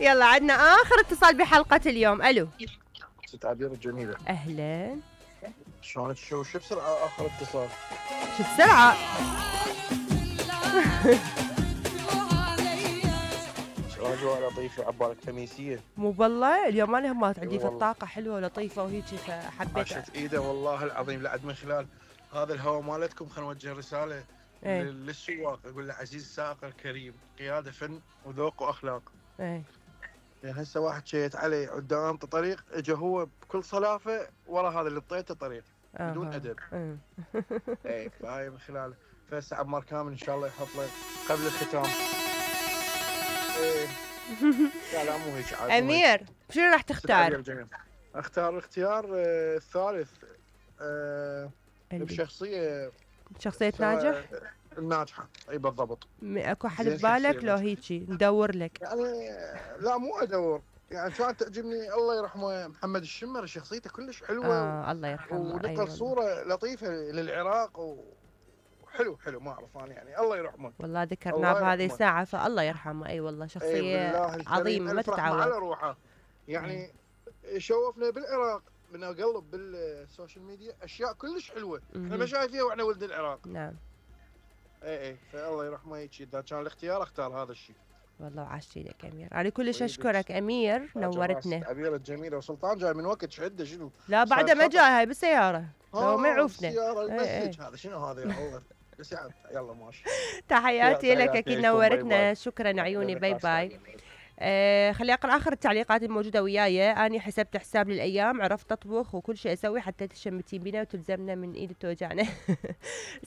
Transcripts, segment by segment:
يلا عندنا اخر اتصال بحلقة اليوم. الو ست عبير الجميلة، اهلا. شلونك؟ شو بسرعة اخر اتصال؟ شو بسرعة؟ اجواء لطيفة، عبالك خميسية؟ مو بالله اليوم انا همات عندي في والله. الطاقة حلوة ولطيفة وهيك فحبيت. عاشت ايده والله العظيم. لعد من خلال هذا الهواء مالتكم خلينا نوجه رسالة ايه للسواق، اقول له عزيز السائق الكريم، قيادة فن وذوق واخلاق. ايه يعني هسه واحد شيت علي قدام طريق، اجى هو بكل صلافة ورا هذا اللي طيته طريق بدون ادب. ايه فهاي من خلال فهسه عمار كامل ان شاء الله يحط لك قبل الختام. ايه لا لا مو هيك عاد. امير شنو راح تختار؟ اختار الاختيار الثالث. بشخصية شخصية ناجح؟ الناجحة، اي بالضبط. اكو حد ببالك لو هيجي ندور لك؟ يعني لا مو ادور، يعني كانت تعجبني الله يرحمه محمد الشمر، شخصيته كلش حلوة. الله يرحمه. ونقل أيوة صورة لطيفة للعراق حلو ما اعرف انا، يعني الله يرحمه. والله ذكرناه بهذه الساعة فالله يرحمه. اي والله شخصية عظيمة ما تتعوض على روحه. يعني شوفنا بالعراق من اقلب بالسوشيال ميديا اشياء كلش حلوه احنا ما شايفيها واحنا ولد العراق. نعم. اي فالله يرحمه هيك. اذا كان الاختيار اختار هذا الشيء. والله وعشتي لك امير، انا كلش اشكرك امير، نورتنا. عبير الجميله. وسلطان جاي من وقت شده شنو؟ لا بعده ما جاي، هاي بالسياره لو ما يعوفنا. السياره المسج هذا شنو هذا يا الله. بس يلا ماشي. تحياتي لك اكيد نورتنا. شكرا عيوني. باي باي. خلي اقرا اخر التعليقات الموجوده وياي. اني حسبت حساب للايام، عرفت اطبخ وكل شيء اسوي حتى تشمتين بينا وتلزمنا من ايد توجعنا.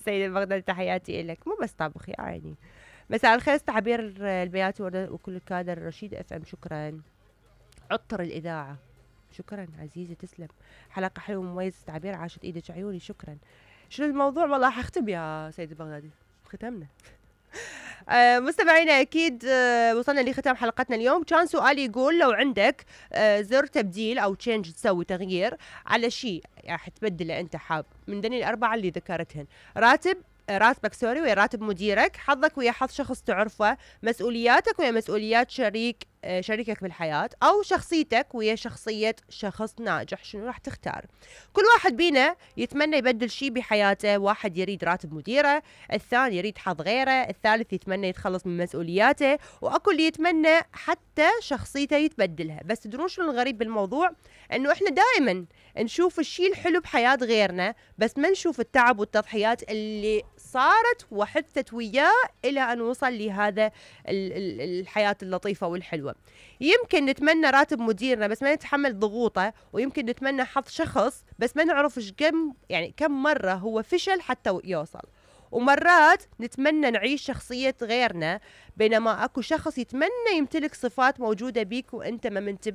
سيدة بغداد تحياتي لك. مو بس طبخ يا عيني. مساء الخير تعبير البيات وكل الكادر. رشيد اف ام شكرا. عطر الاذاعه شكرا عزيزي تسلم. حلقه حلوه ومميزه تعبير عاشت ايدك عيوني شكرا. شنو الموضوع؟ والله حختم يا سيد البغدادي. ختمنا. مستمعينا اكيد وصلنا لختام حلقتنا اليوم. كان سؤالي يقول لو عندك زر تبديل او تشينج تسوي تغيير على شيء راح تبدله انت حاب من ذني الاربعه اللي ذكرتهن. راتبك سوري ويا راتب مديرك، حظك ويا حظ شخص تعرفه، مسؤولياتك ويا مسؤوليات شريكك بالحياة، أو شخصيتك ويا شخصية شخص ناجح. شنو راح تختار؟ كل واحد بينا يتمنى يبدل شيء بحياته. واحد يريد راتب مديره، الثاني يريد حظ غيره، الثالث يتمنى يتخلص من مسؤولياته، وأكو اللي يتمنى حتى شخصيته يتبدلها. بس تدرون شنو الغريب بالموضوع؟ انه احنا دائما نشوف الشيء الحلو بحياة غيرنا، بس ما نشوف التعب والتضحيات اللي صارت وحدثت وياه الى ان وصل لهذا الحياة اللطيفة والحلوة. يمكن نتمنى راتب مديرنا بس ما نتحمل ضغوطه، ويمكن نتمنى حظ شخص بس ما نعرف كم مرة هو فشل حتى يوصل. ومرات نتمنى نعيش شخصية غيرنا، بينما اكو شخص يتمنى يمتلك صفات موجودة بيك وانت ما منتبه